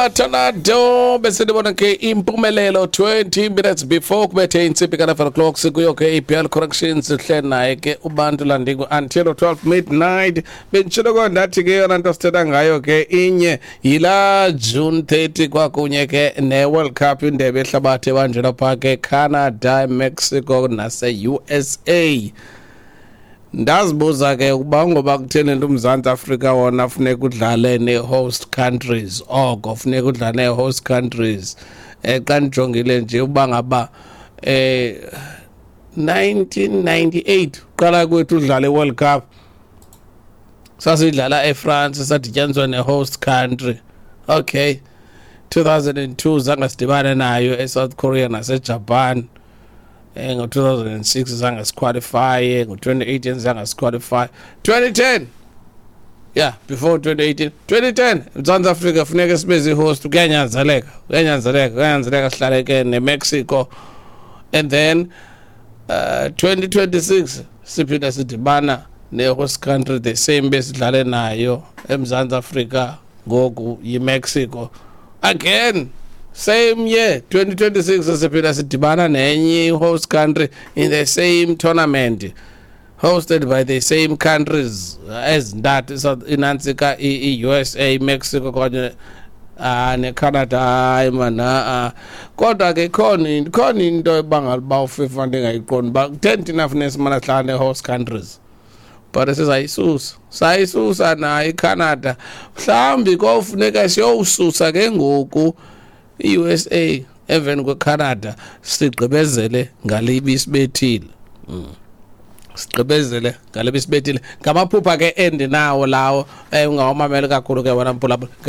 Tornado besendibona ke impumelelo 20 minutes before kubethe intsimbi ka-11 o'clock. Sikuyo ke iBL Corrections, sihle naye ke uBantu Landingo until 12 midnight. Benditshilo ko ndathi ke yona nto sithetha ngayo ke inye yila June 30 kwakunye ke ne-World Cup, indebe ehlabathi ebanjelwa phaa ke Canada, Mexico nase-USA. Ndazibuza ke ukuba ngoba kutheni nto uMzantsi Afrika wona funeka udlale nee-host countries, oko funeka udlale nee-host countries. Xa ndijongile nje uba ngaba 1998 qala kwethu udlala i-World Cup, sasidlala eFrance, sadityaniswa ne-host country. Okay, 2002 zange sidibane nayo, eSouth Korea naseJapan. Ngo-2006 zange siqualifye, ngo-2018 zange siqualify. 2010, yeah, before 2018, 2010 Mzantsi Afrika funeka sibe zii-host, kuyanyanzeleka, kuyanyanzeleka, kuyanyanzeleka sihlale ke neMexico. And then 2026 siphinda sidibana ne-host country, the same besidlale nayo eMzantsi Afrika, ngoku yiMexico again. Same year 2026 siphinda sidibana nenye i-host country in the same tournament hosted by the same countries ezintathu, inantsika i-USA, Mexico kanye neCanada. Hayi man, a kodwa ke ikhona into ebangela uba uFIFA ndingayiqondi uba kutheni thina funeka simane sihlala nee-host countries, but sizayisusa, sayisusa nayo iCanada. Mhlawumbi kofuneka siyowususa ke ngoku i-USA emveni kweCanada, sigqibezele ngale ibisibethile. Sigqibezele ngale bisibethile. Ngamaphupha ke endinawo lawo. Ungawamameli kakhulu ke wena mphulaphula.